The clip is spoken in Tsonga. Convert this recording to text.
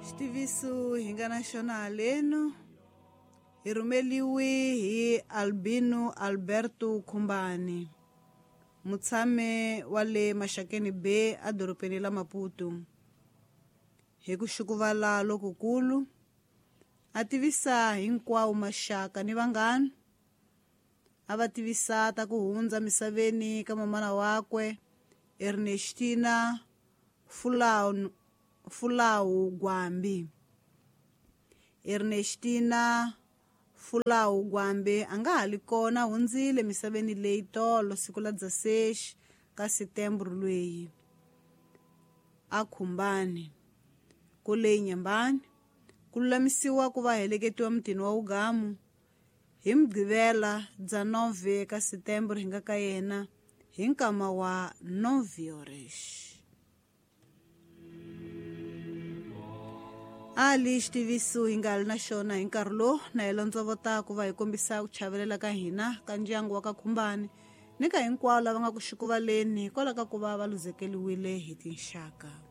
Xitiviso hi nga na xona haleno hi rhumeliwe hi Albino Alberto Khumbani, mutshami wa le Maxakeni Bay edorobeni la Maputo. Hi ku xukuvala lokukulu a tivisa hinkwawo maxaka ni vanghana, a va tivisa ta ku hundza misaveni ka mamana wakwe Ernestina Fulawu Gwambi. Ernestina Fulawu Gwambi a nga ha li kona, hundzile misaveni leyi tolo siku la 16 ka Setembro lweyi a Khumbani kule Nyambani, ku lulamisiwa ku va heleketiwa mutini wa Ugamu hi Mugqivela bya 9 ka Setembro hi nga ka yena hi nkama wa 9 horas. Ali xitiviso hi nga ri na xona hi nkarhi lowu na hi londzovota ku va hi kombisa ku chavelela ka hina ka ndyangu wa ka Khumbani ni ka hinkwavo lava nga ku xukuvaleni hikwalaho ka ku va va luzekeriwile hi tinxaka.